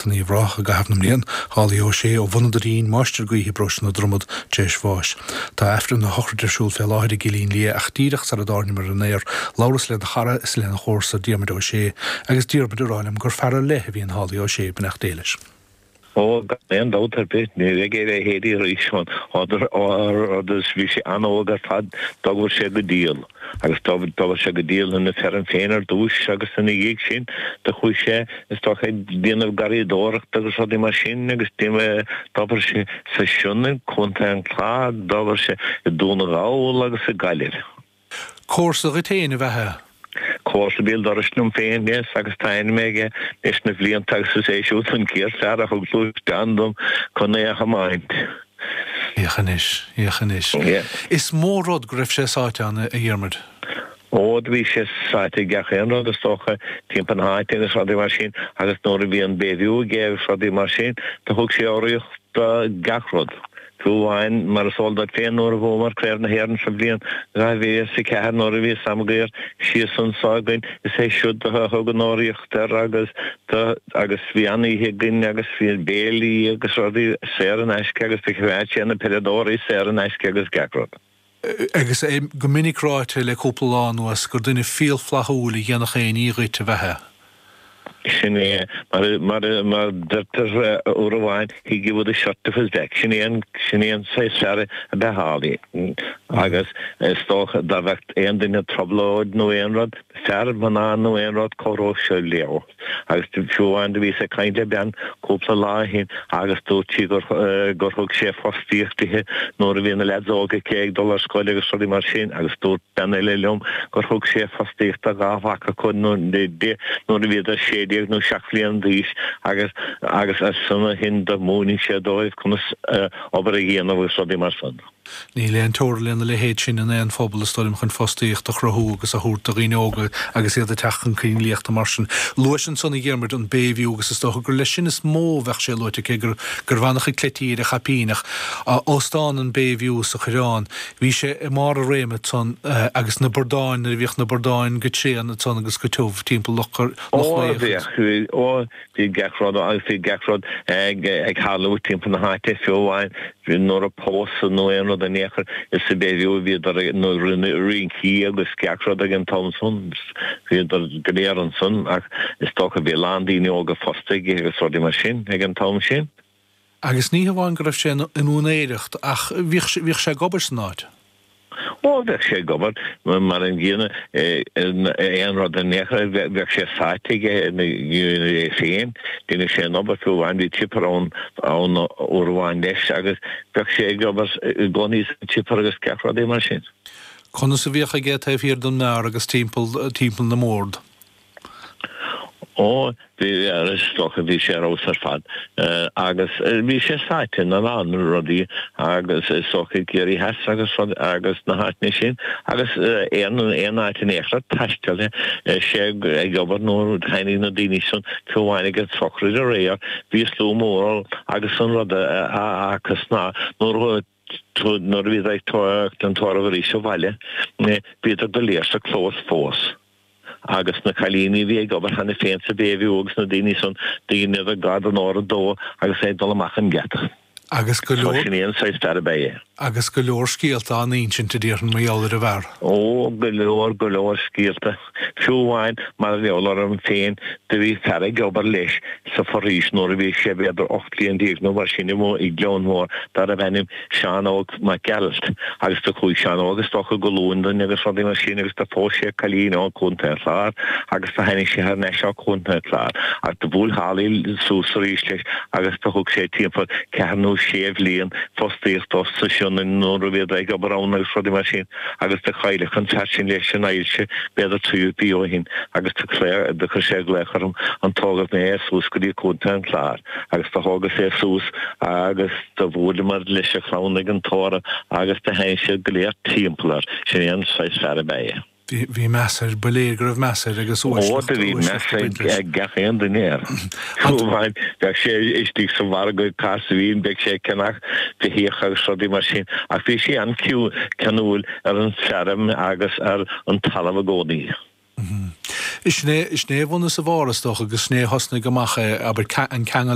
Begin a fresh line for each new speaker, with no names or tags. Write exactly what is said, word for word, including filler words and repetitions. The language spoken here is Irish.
In Uíbh Ráthach i gcaitheamh na mblian, Holly Ó Sé ó Bhun an Doirín, máistir gaoithe i bparóiste na Dromad, tar éis bháis. Tá Aifreann a shochraide ar siúl fé láthair i gCillín Liath ach díreach sara dtáirneamar ar an aer, labhras lena chara is lena chomharsa Diarmuid Ó Sé agus Diarmuid ag rá liom gur fear ar leith a bhí in Holly Ó Sé, beannacht Dé leis.
Ó, gan aon dabht ar bith, ní bheidh a leithéidí arís ann. Agus bhí sé an-óg ar fad, d'obair sé go diail. Agus d'obair sé go diail ina feirm féin ar dtúis agus ina dhiaidh sin do chuaigh sé, is dócha, ag déanamh garraíodóireachta agus rudaí mar sin agus d'obair sé sa Sionainn, Contae an Chláir, d'obair sé i Dún na nGall agus i Gaillimh.
Comharsa dhuit féin ab ea é?
Comharsa béal dorais liom féin, yes, agus tá ainm aige leis na blianta agus is é siúd an chéad fear a thug gluaisteán dom chun é a thiomáint.
Féach anois, féach anois. Is mór rud go raibh sé sáite ann, a Dhiarmuid.
Ó, do bhí sé sáite i gach aon rud, is dócha, timpeall na háite agus rudaí mar sin agus nuair a bhí an Bayview aige agus rudaí mar sin, do thug sé urraíocht do gach rud. Fiú amháin, mar is eol duit féin, nuair a bhuamar Craobh na hÉireann sa bhliain dhá mhíle is a ceathair nuair a bhí Sam Maguire síos anso againn, is é siúd a thug an urraíocht air agus do agus bhí an-oíche againn agus bhí béilí agus rudaí saor in aisce agus do choimeád sé na peileadóirí saor in aisce agus gach rud.
Agus é go minic ráite le cúpla lá anuas gur duine fial flaithiúil a dhéanfadh aon ní dhuit ab ea é.
Sin é, mar, mar, mar deirtear uair amháin, he'd give you the shirt off his back. Sin é an, sin é an saghas fear ab ea Holly. Agus is dócha dá bheadh aon duine i dtrioblóid nó aon rud, fear, mná nó aon rud, cabhródh sé leo. Agus fiú amháin do bhíos ag caint le bean cúpla lá ó shin agus dúirt sí gur, gur thug sé fostaíocht dithe nuair a bhí na leaids óga aici ag dul ar scoil agus rudaí mar sin agus dúirt bean eile liom gur thug sé fostaíocht do dhá mhac acu di nuair a bhíodar sé déag nó seacht mbliana d'aois agus agus as san ó shin do mhúinigh sé dóibh conas obair a dhéanamh agus rudaí mar san.
Níl aon teora lena leithéid sin in aon phobal, is dóigh liom, chun fostaíocht a chruthú agus a thabhairt do dhaoine óga agus iad ag teacht chun coinlíochta mar sin. Luais ansan, a Dhiarmuid, an Bayview agus is dócha gur leis sin is mó a bheadh sé luaite, cé gur gurbh an-chuid cleití ar a chaipín ach óstán an Bayview sa Choireán, bhí sé i mbarr a réime ansan agus na bordáin, nuair a bhíodh na bordáin go tréan ansan agus go tiubh timpeall Loch
Ó
Lao agus.
bhíodh, ó bhí gach rud agus bhí gach rud ag ag tarlú timpeall na háite fiú amháin nuair a pósadh nó aon rud in aon chor is sa Bayview a bhíodar ag nó rinne rincí agus gach rud ag an t-am san bhíodar go léir ansan ach is dócha bhí a lán daoine óga fosta aige agus rudaí mar sin ag an t-am sin.
Agus ní hamháin go raibh sé in úinéireacht ach bhíodh bhíodh sé ag obair san áit.
Ó, bheadh sé ag obair mar an gcéanna aon rud in aon chor, bheadh sé sáite aige ina é féin, deineadh sé an obair fiú amháin, bhí chipper ann ann uair amháin leis agus bheadh sé ag obair i gcónaí sa chipper agus gach rudaí mar sin.
Conas a bhíodh aige taobh thiar den mbeár agus timpeall timpeall na mbord?
Ó, bhí, is dócha, bhí sé ar fheabhas ar fad agus bhí sé sáite ina lán rudaí agus is dócha i gCiarraí Theas agus rud agus na háiteanna sin agus aon aon áit in aon chor thaisteal sé ag obair nuair a tháinig na daoine san fiú amháin ag an tsochraid aréir bhí slua mór ann agus an rud a fhacthas ná nuair a nuair a bhíodar ag tabhairt an tórramh arís abhaile bhíodar go léir sa chlós fós. Agus na cailíní a bhí ag obair cheana féin sa Bayview agus na daoine san, dheineadar gar don uair a dó agus é ag dul amach an geata.
Agus go
So
leor.
sin é an saghas fear ab ea é.
Agus go leor scéalta á n-insint, a déarfainn, mar gheall ar an bhfear.
Ó, go leor, go leor scéalta. Fiú amháin, mar gheall orm féin, do bhí fear ag obair leis sa foraois nuair a bhí sé b'fhéidir ocht bliain déag nó mar sin amuigh i gCleann Mhór, darbh ainm Seán Óg Mac Gearailt agus do chuaigh Seán Óg is dócha go Londain agus rudaí mar sin agus do phós sé cailín ó Chontae an Chláir agus do tháinig sé thar n-ais ó Chontae an Chláir ach do bhuail Holly suas arís leis agus do thug sé timpeall ceathair nó sé bhliain fostaíocht dó sa Sionainn nuair a bhíodar ag obair ann agus rudaí mar sin agus do cailleadh an fear sin leis an ailse b'fhéidir trí mhí ó shin agus do do chuir sé glaoch orm an dtógfadh mé é suas go dtí Contae an Chláir agus do thógas é suas agus Do bhuaileamar leis a chlann ag an tórramh agus do tháinig siad go léir timpeall air. Sin é an saghas fear ab ea é.
Bhí, bhí meas air, ba léir go raibh meas air agus
Ó,
uaisleacht,
do bhí meas
uaisleacht ag baint leis.
ag gach aon duine air. Fiú amháin, bheadh sé istigh sa mhargadh ag Cas Mhín, bheadh sé ag ceannach beithíoch agus rudaí mar sin, ach bhí sé an-cheanúil ar an bhfeirm agus ar an talamh i gcónaí.
Is é is é bhun is a bharr is dócha agus sin é thosnaigh amach é abair an ceangal